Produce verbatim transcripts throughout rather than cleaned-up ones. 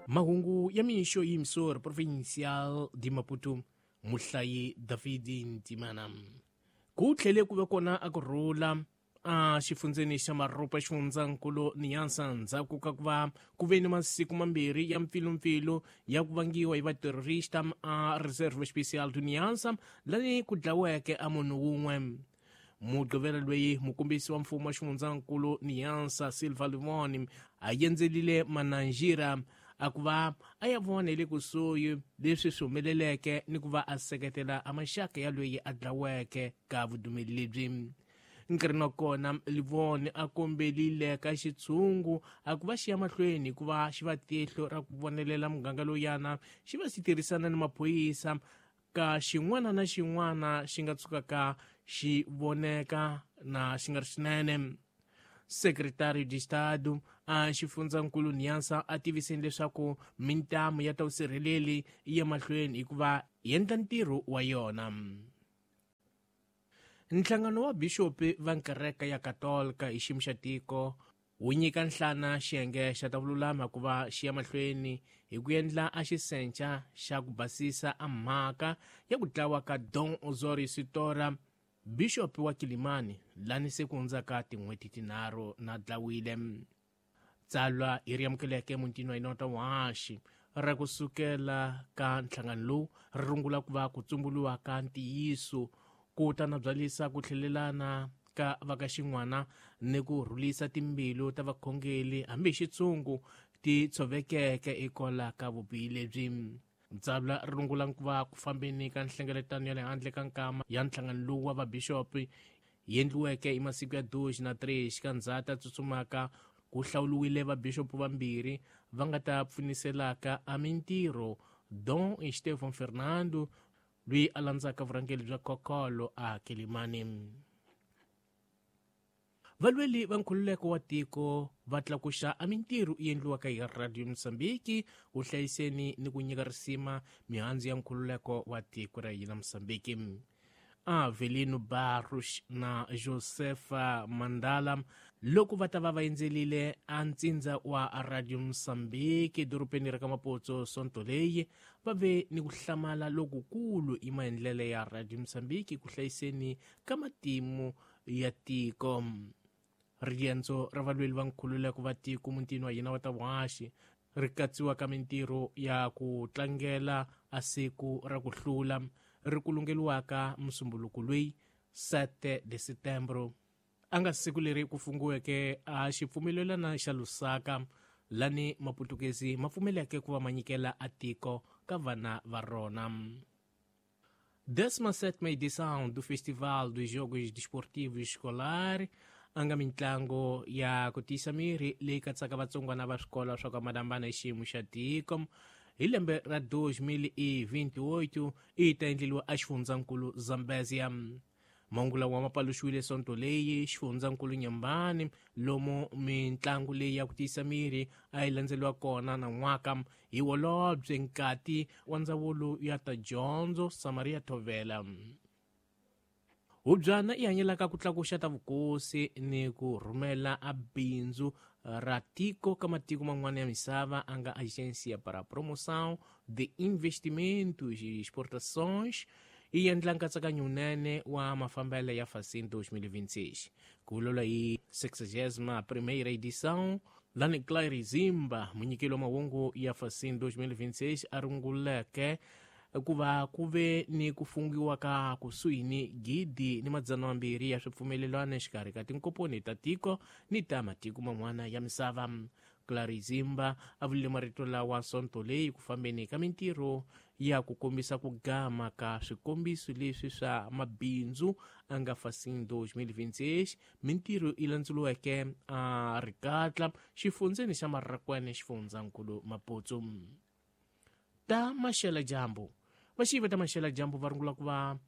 Mahungu ya mixo yimsor provincial di Maputo muhlayi David Ntimana. Ku tlhele ku ve kona a ku rhula a xifundzeni xa Maropa xifundzankulu Niassa ndzhaku ka ku va ku ve ni masiku mambirhi ya mpfilumpfilu ya ku vangiwa hi vaterrorista a Reserve Especial do Niassa lani ku dlaweke a munhu wun'we. Mugqivela loyi mukombisi wa mfumo wa xifundzankulu Niassa Silva Livoni a endzelile Mananjira a ku va a ya vona hi le kusuhi leswi swi humeleleke ni ku va a seketela a maxaka ya loyi a dlaweke ka vudumeli lebyi. Nkarhi wa kona Livoni a kombelile ka xitshungu a ku va xi ya mahlweni hikuva xi va tihlo ra ku vonelela muganga lowuyana xi va xi tirhisana ni maphorisa ka xin'wana na xin'wana xi nga tshukaka xi voneka na xi nga ri xinene. Secretário de Estado a xifundzankulu Niassa a tiviseni leswaku mintamu ya ta vusirheleli yi ya mahlweni hikuva yi endla ntirho wa yona. Nhlangano wa bishopi va nkereke ya Katolika hi xiyimo xa tiko wu nyika nhlana xiyenge xa ta vululami ku va xi ya mahlweni hi ku endla a xisenca xa ku basisa a mhaka ya ku dlawa ka Dom Osório Sitora, bishopi wa Kilimani, lani se ku hundzaka tin'hweti tinharhu na dlawile. Tsalwa hi ri amukeleke mutini wa hina wa Washi ra kusukela ka nhlangano lowu ri rungula ku va ku tsumbuluwa ka ntiyiso ku ta na byalisa ku tlhelelana ka va ka xin'wana ni ku rhulisa timbilu ta vakhongeli hambi hi xitshungu ti tshovekeke ekola ka vubihi lebyi. Tsalwa ri rungula ku va ku fambeni ka nhlengeletano ya le handle ka nkama ya nhlangano lowu wa vabishopi yi endliweke hi masiku ya dois na três ka ndzhati tsutsumaka ku hlawuriwile vabishopi vambirhi va nga ta pfuniselaka a mintirho Dom Estevão Fernando loyi a landzaka vurhangeri bya Kokolo a Kilimani. Valweli va nkhululeko wa tiko va tlakuxa a mintirho yi endliwaka hi Radio Mozambique ku hlayiseni ni ku nyika risima mihandzu ya nkhululeko wa tiko ra hina Mozambique. Avelino Barros na Josefa Mandala loko va ta va va endzelile a ntsindza wa Radio Mozambique dorobeni ra ka Maputo sonto leyi va ve ni ku hlamala lokukulu hi maendlelo ya Radio Mozambique ku hlayiseni ka matimu ya tiko. Riendzo ra valweli va nkhululeko va tiko mutini wa hina wa ta Washi ri katsiwa ka mintirho ya ku tlangela a siku ra ku hlula ri kulungeliwaka musumbuluko loyi sete de setembro a nga siku leri ku fungiweke a xipfumelelana xa Lusaka lani maputukezi ma pfumeleke ku va ma nyikela a tiko ka vana va rona. Décima sétima edição do Festival dos Jogos Desportivos Escolar a nga mintlango ya ku tiyisa miri leyi katsaka vatsongwana va swikolo swa ku hambanahambana hi xiyimo xa tiko hi lembe ra dois mil e vinte e oito yi ta endleliwa exifundzankulu Zambezia. Mahungu lawa ma paluxiwile sonto leyi xifundzankulu Nyambani lomu mintlangu leyi ya ku tiyisa miri a yi landzeliwa kona nan'waka hi holobye nkati wa ndzawulo ya ta dyondzo Samaria Thovela. Hubyana yi hanyelaka ku tlakuxa ta vukosi ni ku rhumela a bindzu ra tiko ka matiko man'wana ya misava a nga Agência para a Promoção de Investimentos e Exportações yi endla nkatsakanyo wunene wa mafambelo ya Facim dois mil e vinte e seis. Ku vulavula hi sexagésima primeira edição lani Claire Zimba munyikeli wa mahungu ya Facim dois mil e vinte e seis a runguleke ku va ku ve ni ku fungiwa ka kusuhi ni gidi ni madzana mambirhi ya swipfumelelano exikarhi ka tinkomponi ta tiko ni ta matiko man'wana ya misava. Claire Zimba a vurile marito lawa sonto leyi ku fambeni ka mintirho ya ku kombisa ku gama ka swikombiso leswi swa mabindzu a nga Facim dois mil e vinte e seis mintirho yi landzuriweke a rikatla xifundzeni xa Marracuene xifundzankulu Maputo. Ta maxela dyambu vaxivi ta maxela dyambu va rungula ku va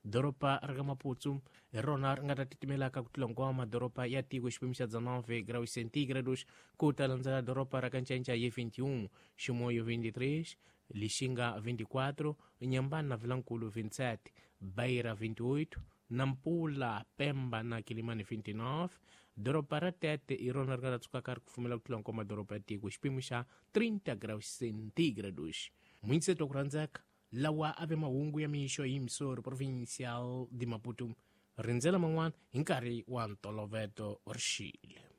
doroba ra ka Maputo hi rona ri nga ta titimelaka ku tlula hinkwawo madoroba ya tiko xiphemu xa dezenove graus centígrados ku ta landzela doroba ra ka Ncainca hi vinte e um, Chimoio vinte e três, Lixinga vinte e quatro, Inhambane na Vilankulu vinte e sete, Beira vinte e oito, Nampula, Pemba na Quilimane vinte e nove, Doroba ra Tete hi rona ri nga ta tsukaka ri kufumela ku tlula hinkwawo madoroba ya tiko hi xipimo xa trinta graus centígrados. Muinseto ku rhandzeka lawa a ve mahungu ya mixo hi Missouri Provincial de Maputo. Rindzela man'wana hi nkarhi wa ntoloveto rixile.